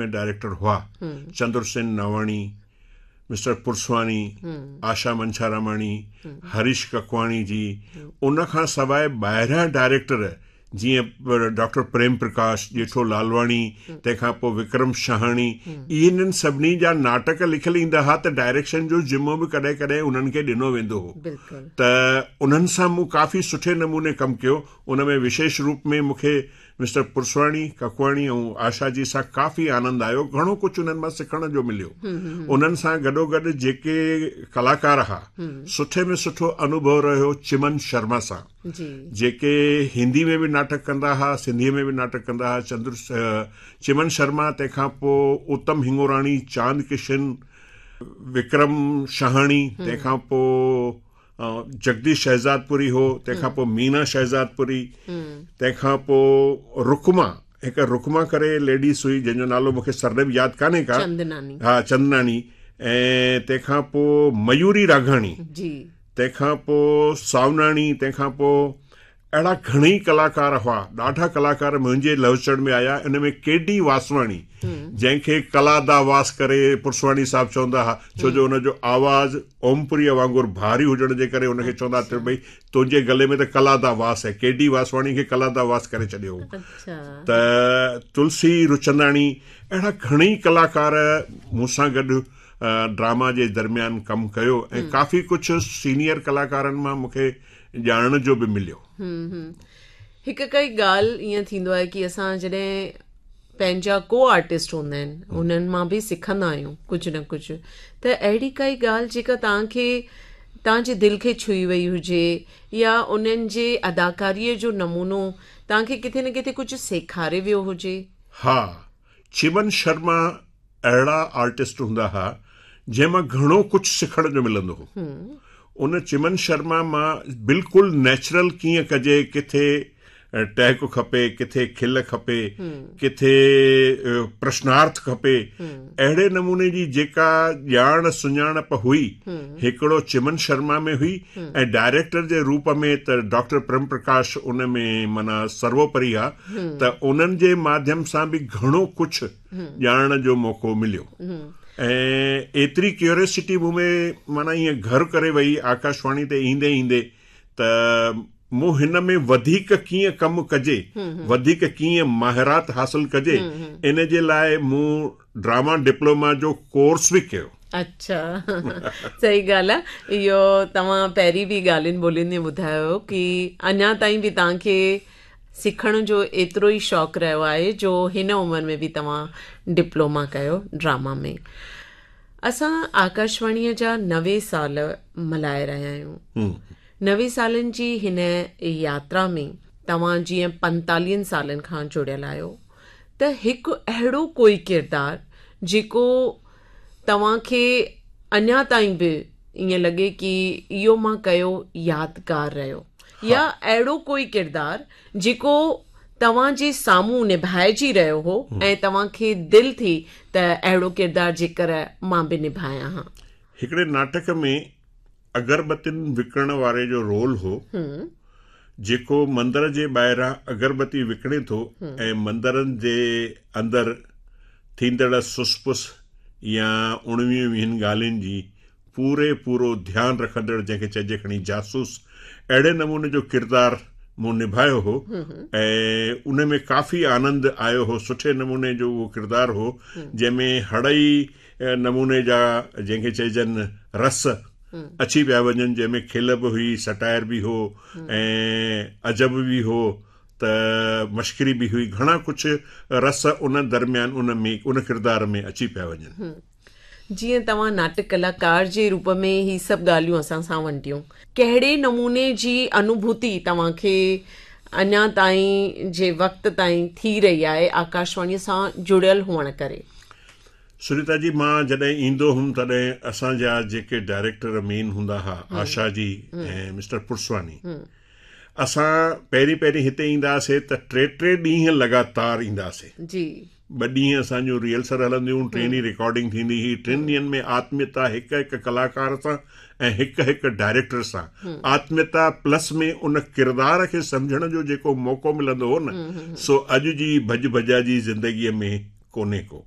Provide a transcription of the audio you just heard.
۾ Director هئا، چندر سين Navani, mister Parswani, آشا منڇاراماڻي، هريش ڪڪواڻي جي، ان کان سواء ٻاهريان ڊائريڪٽر جيئن ڊاڪٽر پريم پرڪاش، ڄيٺو لالواڻي، تنهن کان پوء وڪرم شهاڻي، انهن سڀني جا ناٽڪ لکيل ايندا ها ته ڊائريڪشن جو ذمو به ڪڏهن ڪڏهن انهن کي ڏنو ويندو هو ته انهن سان مون ڪافي سٺي نموني ڪم ڪيو. ان ۾ وشيش روپ ۾ مون کي مسٽر پرسواڻي، ڪڪواڻي ۽ آشا جي سان ڪافي آنند آيو، گهڻو ڪجهه انهن مان سکڻ جو مليو. انهن سان گڏوگڏ جيڪي ڪلاڪار ها، سٺي ۾ سٺو انوڀو رهيو چمن شرما سان، جيڪي هندي ۾ به ناٽڪ ڪندا ها، سنڌيء ۾ به ناٽڪ ڪندا ها، چندر چمن شرما، تنهن کان پوء اتم هڱوراڻي، چاند ڪشن، وڪرم شهاڻي، تنهن کان پوء جگديش شهزادپوري هو، تنهن کان پوء مينا شهزادپوري، تنهن کان پوء رڪما، هڪ رڪما ڪري ليڊيز هئي جنهن جو نالو مونکي سرنيم ياد ڪانهي ڪا، چندناني، ها چندناني، ۽ تنهن کان پوء ميوري راگهاڻي، جي، تنهن کان پوء ساوناڻي، تنهن کان پوء اهڙا گهڻئي ڪلاڪار هئا، ڏاڍا ڪلاڪار منهنجي لهوچڙ ۾ آيا، ان ۾ ڪي ڊي واسواڻي جنهن کي ڪلا دا واس ڪري پرسواڻي صاحب چوندا ها، ڇو جو ان جو آواز اومپوريء وانگر ڀاري هجڻ جي ڪري ان کي چوندا ها ته ڀئي تنهنجي گلي ۾ ته ڪلا دا واس آهي، ڪي ڊي واسواڻي کي ڪلا دا واس ڪري ڇڏيو هو. ته تلسي رچنداڻي اهڙا گهڻئي ڪلاڪار مون سان گڏ ڊراما جي درميان ڪم ڪيو ۽ ڪافي ڪجهه سينيئر ڪلاڪارن مان مون کي ڄاڻڻ جو به مليو. هڪ ڪائي ڳالهه ائين ٿيندو آهي ڪي اسان جڏهن پنهنجا ڪو آرٽسٽ هوندا آهن انهن مان به سکندا آهيون ڪجهه نه ڪجهه ته اهڙي ڪائي ڳالهه جيڪا توهان کي توهان جي دل کي ڇهي وئي هجي يا انهن جي اداڪاريء جو نمونو توهان کي ڪٿي نه ڪٿي ڪجهه سيکاري ويو هجي. ها چمن شرما اهڙا آرٽسٽ هوندا ها جنهن مان گهڻو ڪجهه سکڻ جو ملندو هو. ان چمن شرما مان بلڪل نيچرل ڪيئن ڪجي، ڪٿي ٽهڪ کپي، ڪٿي کل کپي، ڪٿي پرشنارٿ کپي، اهڙي نموني جي جيڪا ڄاڻ سڃاڻپ هئي، هڪڙو چمن شرما ۾ هئي ۽ ڊائريڪٽر جي روپ ۾ ته ڊاڪٽر پريم پرڪاش ان ۾ معنيٰ سرووپري ها ته انهن جي ماڌيم سان به گهڻو ڪجهه ڄاڻڻ جو موقعو مليو ۽ ايتري ڪيوريسٽي مون ۾ معنيٰ ائين گهر ڪري وئي آڪاشواڻي تي ايندي ايندي ته مون هن ۾ وڌيڪ ڪيئن ڪم ڪجي، وڌيڪ ڪيئن مهارت حاصل ڪجي، ان جي لاء مون ڊراما ڊپلوما جو ڪورس به ڪيو. اڇا صحيح ڳالهه آهي اهو توهان پهرين به ڳالهين ٻولين ۾ ٻڌايو هو ڪي اڃا تائين به توهان کي سکڻ جو ايترو ئي شوق رهيو آهي جو هن عمر ۾ به توهان ڊپلوما ڪيو ڊراما ۾. اسان آڪاشواڻيء جا 90 سال ملهائي رهيا آهيون. 90 سالن جي هن ياترا ۾ توهان جيئن پنتاليهن سالن کان جڙيل آهيو ته هڪ اهڙو ڪوئي ڪردار جيڪو توهان کي اڃا تائين به ائين لڳي ڪي اهو مان ڪيو يادگار رهيو يا اهڙو ڪوئي ڪردار جيڪو توهان جي سامهون نڀائجي رهيو هو ۽ توهان کي دل ٿي ته اهڙو ڪردار جيڪر مان به نڀايان ها. هڪڙي ناٽڪ ۾ اگربتين وڪڻڻ واري جو رول هو، جيڪو مندر جي ٻاهران اگربتي وڪڻي ٿو ۽ مندرن جي اندر ٿيندڙ سس پس يا اڻويهن ويهن ڳالهين جي پوري پورو ڌيان رکندڙ جنهن کي چئجي کڻي جاسوس اهڙي نموني جو ڪردار مون نڀايو هو ۽ ان ۾ ڪافي آنند آيو هو سٺي نموني جو اهو ڪردار هو جنهن ۾ هڙئي نموني جا جنهن کي چئجن رس اچي پيا وڃن جنهن ۾ کل به هئي سٽائر به هو ۽ عجب به هو ته مشڪري به هئي گهڻا ڪجهه رس ان درميان ان ۾ ان ڪردار ۾ اچي پيا وڃن. جيئن توهان ناٽڪ ڪلاڪار جي روپ ۾ هي سڀ ڳالهيون اسان سان ونڊيون، ڪهڙي نموني جي انوڀوتي توهان کي اڃا تائين جي وقت تائين ٿي رهي آهي آڪاشواڻيء سان جڙيل هئڻ ڪري؟ سريتا جي مان جڏهن ايندو هوم تڏهن اسان جا جيڪي ڊائريڪٽر مين هوندا ها آشا جي ۽ مسٽر پرسواني اسان پهرين پهرين هتي ايندا هئاسي ته ٽي ٽي ڏينهن لڳاتار ايندا هئاسي جي ٻه ڏينهن اسان جون ريهرسل هلنديون هيون ٽئين ڏينهن رڪارڊنگ ٿيندي هئي ٽن ڏينهن ۾ آتميتا هڪ هڪ ڪلاڪار سان ۽ هڪ هڪ ڊائريڪٽر سان آتميتا پلس ۾ ان ڪردار کي سمجهڻ جو جيڪو موقعو ملندو هو نه سو اڄ جي ڀڄ ڀڄا جي زندگيء ۾ ڪونهي ڪو.